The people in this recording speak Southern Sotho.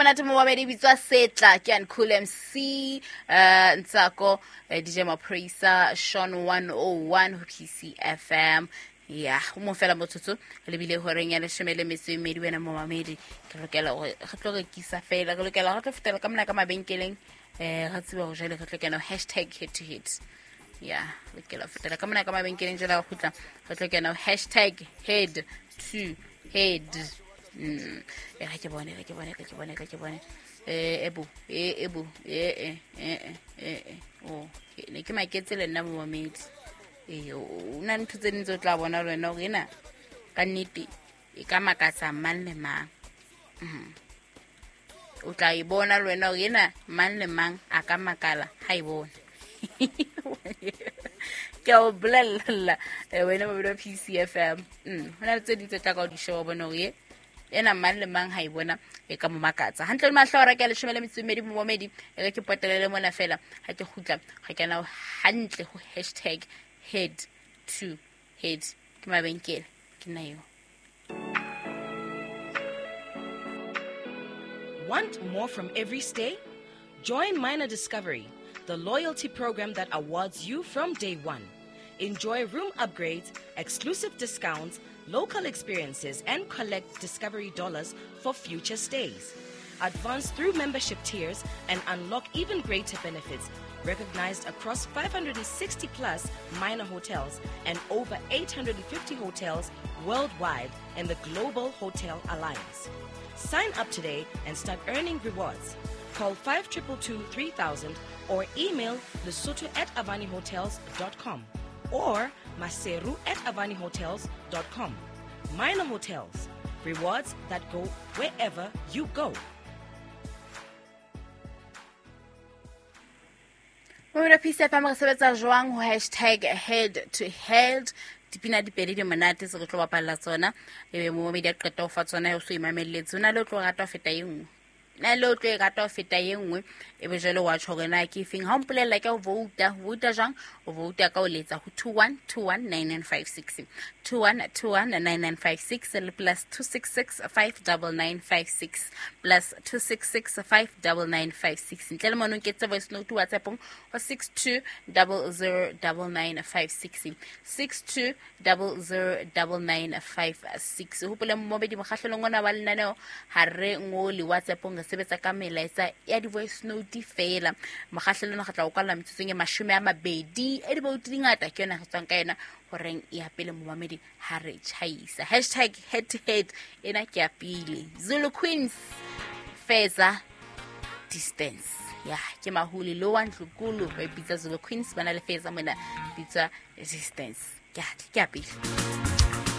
Monate mo babedi bitswa Setla ke an Cool MC, Ntsako, DJ Maprisa, Sean 101 ho PCFM. Ya, go mo fela motsotso le bile horeng ya 12, wena momamedi. Ke lokela gore re tlo rekisa fela, re lokela re tlo fetela ka mona ka mabenkeleng, re tsebe gore jwale re tlo kena hashtag head to head. Ya, lokela ho fetela ka mona ka mabenkeleng, jwale re kgutla re tlo kena hashtag head to head. E re ke bone, re ke bone, re ke bone, re ke bone. Ebo, ebo, e e e e e o ne ke maketse le nna momamedi. O na ntho tse ding tse o tla bona le wena hore ena ka nnete e ka makatsa mang le mang. O tla e bona le wena hore ena mang le mang a ka makala ha e bona. Ke a o bolella, wena mobedi wa PCFM. Ho na le tse ding tse tla ka o di sheba, o bone hore ena mang le mang ha e bona e ka mo makatsa. Hantle le mahlo a reka 12 momamedi, e re ke potelele mona fela ha ke kgutla ga kena hantle ho hashtag head to head. Ke mabenkele, ke nna eo. Want more from every stay? Join Minor Discovery, the loyalty program that awards you from day one. Enjoy room upgrades, exclusive discounts, local experiences, and collect Discovery dollars for future stays. Advance through membership tiers and unlock even greater benefits, recognized across 560 plus Minor hotels and over 850 hotels worldwide in the Global Hotel Alliance. Sign up today and start earning rewards. Call 5222 3000 or email lesotho@avanihotels.com or maseru@avanihotels.com. Minor Hotels, rewards that go wherever you go. Mobile Peace FM re sebetsa jwang ho hashtag head to head? Dipina di pedi di monate tse re tlo bapalla tsona, ebe momamedi a qeta ho fa tsona, o so imamelletse. Ho na le o tlo rata ho feta e nngwe, na le o tlo e rata ho feta e nngwe, ebe jwale wa tjho hore na ke efeng. Ha o mpolella ke o vouta, o vouta jwang? O vouta ka o letsa ho 21219956, 21219956 le plus 266 59956, plus 266 59956. Ntle le mono nketse voice note WhatsApp-ong ho 62009956, 62009956. Hopole momamedi, mokgahlelong ona wa lenaneo ha re ngole WhatsApp-ong, re sebetsa ka melaetsa ya di-voice note fela. Mokgahlelong re tla o kwalla metsotsong e 20 e diboutu di ngata, ke yona re tswang ka yona horeng ya pele momamedi ha re tjhaisa. Hashtag head to head ena ke ya pele. Zulu Queens, Feza Distance. Ya, ke mahuli lo wa Ntlukulu ba ipitsa Zulu Queens, ba na le Feza mona bitswa Distance. Ke a pele.